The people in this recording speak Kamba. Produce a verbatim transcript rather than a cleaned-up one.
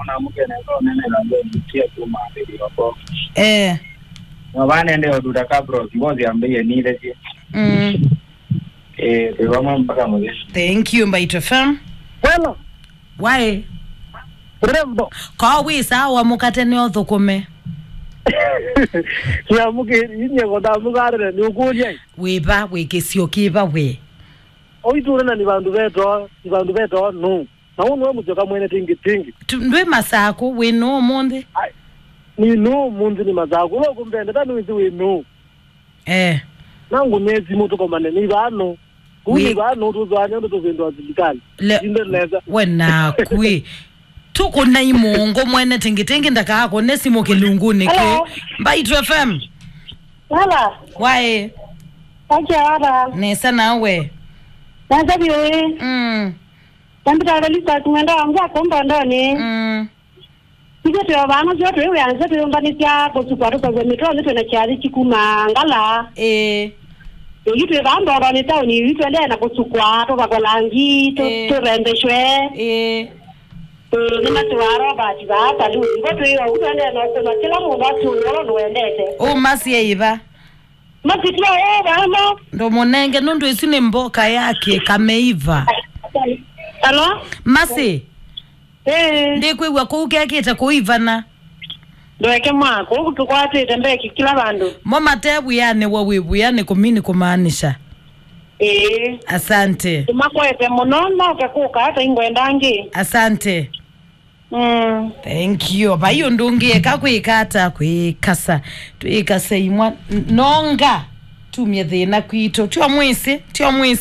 Ona mũkene so nene na ndio nikia tu maambĩlĩo ko. Eh. Na vanende otuta kabros mbozi ambĩie nilesye. Mm. Eh, twĩvamwe mpaka mũthĩ. Thank you, Mbaitũ F M. Wela. Waĩ. Rembo. Ko wĩ sawa mũkate nĩ ũthũkũme. Nyamũkĩri, inye kũthamũkarĩre, nĩ ũkũlya. Wĩva, wĩ kĩsio kĩva wĩ? Oitũrena nĩ vandũ vetoo, nĩ vandũ vetoo, no. Na ũũ nĩwe mũsyoka mwene tingi tingi. Tu-, ndwĩ Masakũ, wĩ nũũ ũmũnthĩ? Ai, nĩ nũũ ũmũnthĩ nĩ Masakũ. Ũla ũkũmbendeta nĩwĩsĩ wĩ nũũ. Eh. Nangu nĩ simũ tũkomane nĩ vano. Kuu nĩ vano tũzwanya ũndũ tũvĩndwa silikali. Le-, inde nesa. We naku ĩ. Tũkũnai mũongo mwene tingi tingi ndakakũne simũ kĩlungunĩ kĩ. Hello. Mbaitũ F M. Hello. Waĩ. Acha ara. Nesa nawe. Nasa biwe. Mm. Nambita Felista kumwenda wangu akomba ndoni. Mm. Ithyĩ twĩ o vano syo twĩ wĩanĩ syo twĩyũmbanĩsya kũsukwa tũkavw'a mĩtwaanĩ twĩ na kyathĩ kikuma ngala. Ĩĩ. Ĩĩ twĩ vaa ndongonĩ taoni yu tũendee na kũsukwa tũvakwe langi tũ- Ĩĩ. Tũrembeshwe. Ĩĩ. Ĩĩ nĩmasũaa Robert vaa saluni vo twĩ o vu tũendee na ũkũna kĩla mũndũ asũnĩ ũla nũwendete. Ũũ masi e ĩva? Masi tio ĩ vano. Ndũmũnenge nũndũ ĩsu nĩ mboka ya kĩkameiva. Alo? Masi. Ĩĩ. Ndikwĩw'a kũu kekĩte kũivana. Ndweke mwako, ũu tũkwatĩte mbeki kila vandũ. Mo mate wĩanĩ wa wĩ wĩanĩ kũmini kũmaanisha. Ĩĩ. Asante. Tũmakwete mũno, noke kũka ata ingwenda angĩ. Asante. Mm. Thank you. Vai ũndũ ũngĩ eka kwĩka ata kwĩkasa. Twĩkase imwa n- nonga. Tumye thĩna kwitũ. Tio mwĩsĩ, tio mwĩsĩ.